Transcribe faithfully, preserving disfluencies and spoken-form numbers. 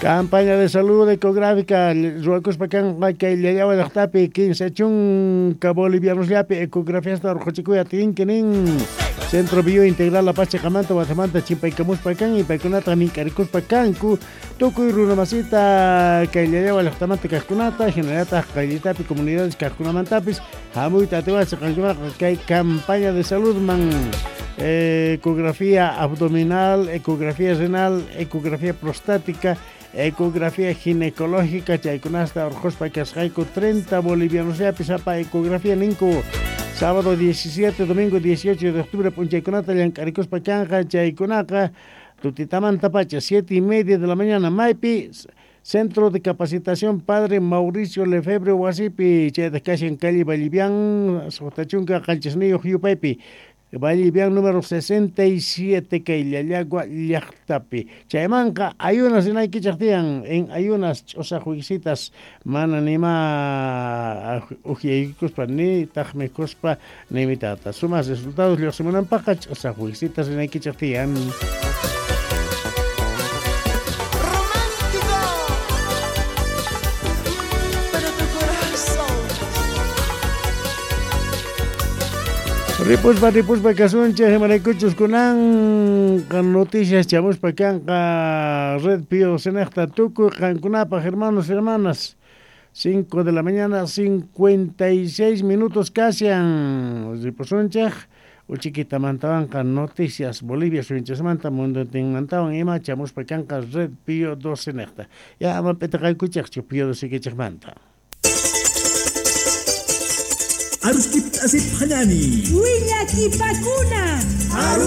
Campaña de salud ecográfica ruwakuspa kanqa kay Llallagua llaqtapi kinsa chunka bolivianosllapi ecografiasta urquchikuy atinki nin Centro Bio Integral La Paz chiqamanta watamanta chimpaykamuspa kan y paykunata mink'arikuspa kanku tukuy runamasita kay Llallagua llaqtamanta kaqkunata hinallataq qayllitapi comunidades kaqkunamantapis hamuyta atiwasqa qankunaqa kay campaña de salud man ecografía abdominal, ecografía renal, ecografía prostática, ecografía ginecológica, chaykunasta urquspa kasqayku treinta bolivianos llapi sapa ecografía ninku sábado diecisiete, domingo dieciocho de octubre p'unchaykunata llank'arikuspa kanqa chaykunaqa tutitamanta pacha siete y media de la mañana maypi Centro de Capacitación Padre Mauricio Lefebvre wasipi chaytaq kashan calle Vallivian suqta chunka qanchisniyuq yupaypi Vallivian número sesenta y siete kay Llallagua llaqtapi chaymanqa ayunas rinaykichaq tiyan en ayunas ch'usaq wikisitas mana nima uhyaykuspa ni taq mikhuspa ni mitata sumaq resultados lluqsimunanpaqqa ch'usaq wikisitas rinaykichaq tiyan. Ripuspa, ripuspa kasunchik imaraykuchus kunanqa noticias chamuspa kanqa Red Pío Cenejta tukuy qankunapaq hermanos hermanas cinco de la mañana cincuenta y seis minutos kasian ripusunchik uchiquitamantawanqa noticias Bolivia suyunchikmanta munduntinmantawan ima chamuspa kanqa Red Pío doce nejta ya ama p'itaqaykuchikchu Pío doce kichikmanta. Aruskip asip hanani. Willakipakuna. Aru